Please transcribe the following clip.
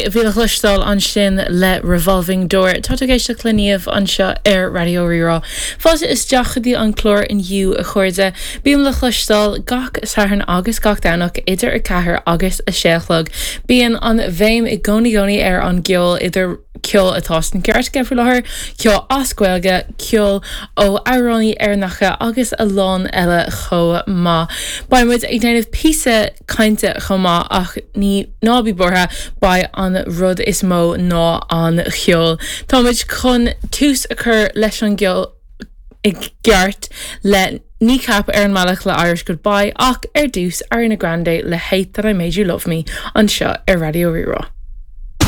Coldplay a bhí le chloisteáil ansin le Revolving Door. Tá tú ag éisteacht le Niamh anseo ar Raidió Rí-Rá. Fáilte isteach go dtí an clár inniu, a chairde. Bím le chloisteáil gach Satharn agus gach Domhnach idir 4 agus 6 a chlog. Bíonn an bhéim i gcónaí gcónaí ar an gceol idir ceol atá sna cairteacha faoi láthair, ceol as Gaeilge, ceol ó amhránaí Éireannacha agus a lán eile chomh maith. Beidh muid ag déanamh píosa cainte chomh maith ach ní, ná bí buartha, beidh an rud is mó ná an cheol. Tá muid chun tús a chur leis an gceol i gceart le Kneecap ar an mbealach le Irish Goodbye ach ar dtús Ariana Grande le Hate That I Made You Love Me anseo ar Raidió Rí-Rá.